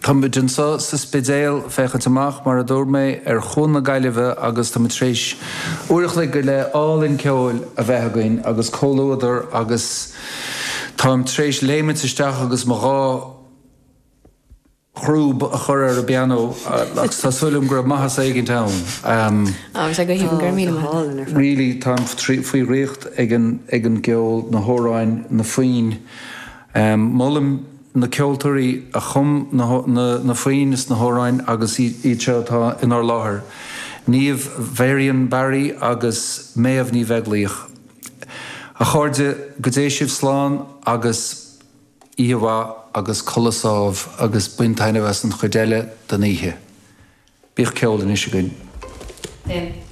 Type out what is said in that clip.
Táimid anseo sa Spidéal féachaint amach, mar a dúirt mé, ar Chuan na Gaillimhe agus táimid tar éis uair a chloig go leith álainn ceoil a bheith againn agus comhluadar agus táim tar éis léimint isteach agus mo dhá chrúb a chur ar an bpianó agus tá súil agam go raibh maitheas éigint ann. Á, bhí sé go haoibhinn, go raibh míle maith agat. Really, táim faoi dhraíocht ag an gceol, na hamhráin, na foinn. Molaim na ceoltóirí a chum na foinn is na hamhráin agus iad seo atá inár láthair, Niamh Varian Barry agus Méabh Ní Bheaglaoich. A chairde, go dté sibh slán agus oíche mhaith agus codladh sámh agus bain taitneamh as an chuid eile den oíche. Bíodh ceol anois againn. Déan.